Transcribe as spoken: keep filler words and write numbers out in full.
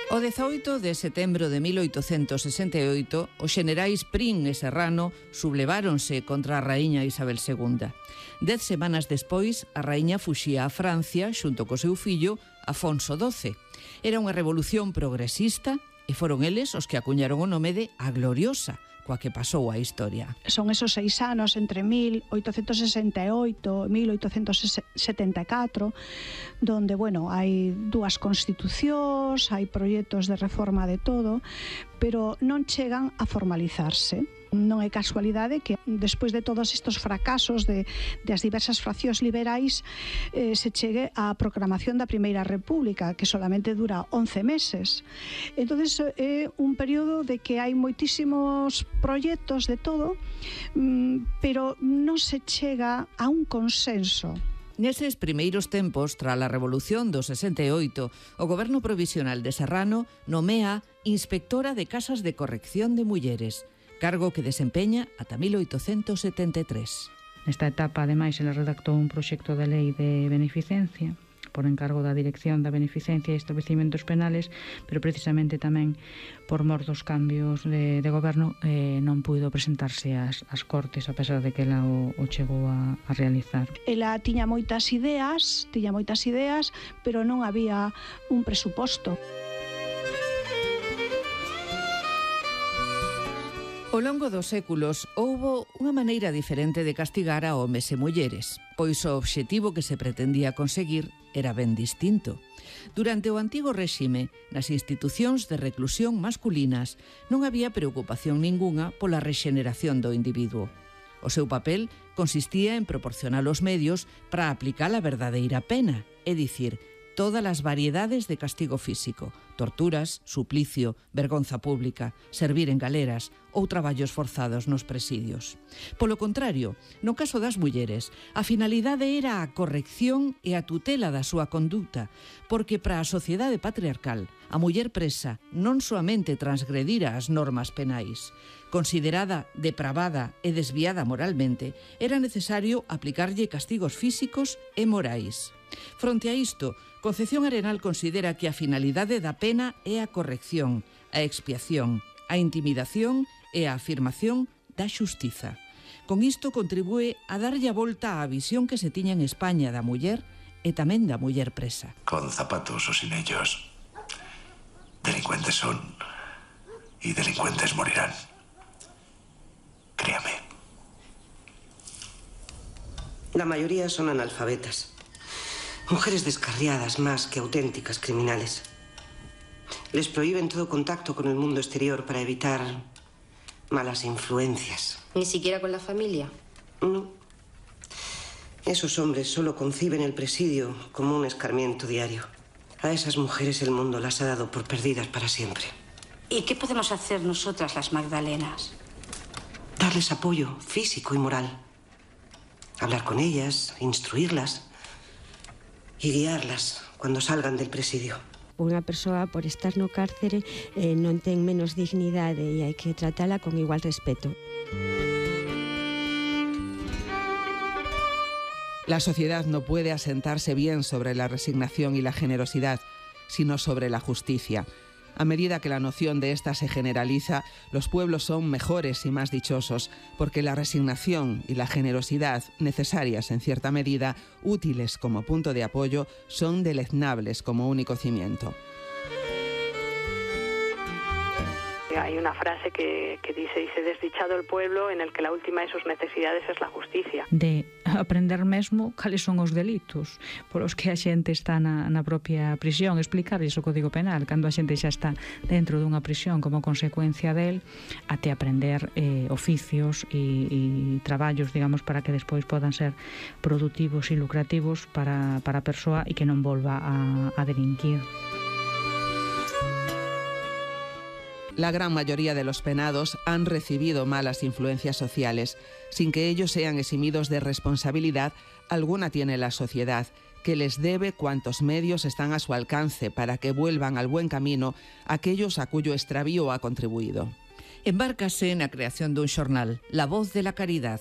O dezaoito de setembro de mil oitocentos sesenta e oito, os xenerais Prim e Serrano subleváronse contra a raíña Isabel segunda. Dez semanas despois, a raíña fuxía a Francia xunto co seu fillo Afonso doce. Era unha revolución progresista e foron eles os que acuñaron o nome de A Gloriosa, coa que pasou a historia. Son esos seis anos entre mil oitocentos sesenta e oito e mil oitocentos setenta e catro, donde, bueno, hai dúas constitucións, hai proxectos de reforma de todo, pero non chegan a formalizarse. Non é casualidade que despois de todos estes fracasos de, de as diversas fraccións liberais eh, se chegue á proclamación da Primeira República, que solamente dura once meses. Entonces é un período de que hai moitísimos proxectos de todo, pero non se chega a un consenso. Neses primeiros tempos, tras a Revolución do sesenta e oito, o Goberno Provisional de Serrano nomea Inspectora de Casas de Corrección de Mulleres, cargo que desempeña ata mil oitocentos setenta e tres. Nesta etapa, ademais, ela redactou un proxecto de lei de beneficencia por encargo da Dirección da Beneficencia e Establecimentos Penales, pero precisamente tamén por mor dos cambios de, de goberno eh, non puido presentarse ás, ás Cortes, a pesar de que ela o, o chegou a, a realizar. Ela tiña moitas ideas, tiña moitas ideas, pero non había un presuposto. Ao longo dos séculos houbo unha maneira diferente de castigar a homes e mulleres, pois o obxectivo que se pretendía conseguir era ben distinto. Durante o antigo réxime, nas institucións de reclusión masculinas non había preocupación ningunha pola rexeneración do individuo. O seu papel consistía en proporcionar os medios para aplicar a verdadeira pena, é dicir, todas as variedades de castigo físico, torturas, suplicio, vergonza pública, servir en galeras ou traballos forzados nos presidios. Polo contrario, no caso das mulleres, a finalidade era a corrección e a tutela da súa conduta, porque para a sociedade patriarcal, a muller presa non soamente transgredira as normas penais. Considerada depravada e desviada moralmente, era necesario aplicarlle castigos físicos e morais. Fronte a isto, Concepción Arenal considera que a finalidade da pena é a corrección, a expiación, a intimidación e a afirmación da xustiza. Con isto contribúe a darlle a volta á visión que se tiña en España da muller e tamén da muller presa. Con zapatos o sin ellos, delincuentes son y delincuentes morirán. Créame. La mayoría son analfabetas. Mujeres descarriadas más que auténticas criminales. Les prohíben todo contacto con el mundo exterior para evitar malas influencias. ¿Ni siquiera con la familia? No. Esos hombres solo conciben el presidio como un escarmiento diario. A esas mujeres el mundo las ha dado por perdidas para siempre. ¿Y qué podemos hacer nosotras, las Magdalenas? Darles apoyo físico y moral. Hablar con ellas, instruirlas y guiarlas cuando salgan del presidio. Unha persoa, por estar no cárcere, eh, non ten menos dignidade e hai que tratala con igual respeto. La sociedad no puede asentarse bien sobre la resignación y la generosidad, sino sobre la justicia. A medida que la noción de esta se generaliza, los pueblos son mejores y más dichosos, porque la resignación y la generosidad, necesarias en cierta medida, útiles como punto de apoyo, son deleznables como único cimiento. Hay una frase que, que dice, dice, desdichado el pueblo en el que la última de sus necesidades es la justicia. De aprender mesmo cales son os delitos polos que a xente está na, na propia prisión, explicarles o Código Penal cando a xente xa está dentro dunha prisión como consecuencia del, até aprender eh, oficios e, e traballos, digamos, para que despois podan ser productivos e lucrativos para, para a persoa e que non volva a, a delinquir. La gran mayoría de los penados han recibido malas influencias sociales. Sin que ellos sean eximidos de responsabilidad, alguna tiene la sociedad, que les debe cuantos medios están a su alcance para que vuelvan al buen camino aquellos a cuyo extravío ha contribuido. Embárcase na creación dun xornal, La Voz de la Caridad,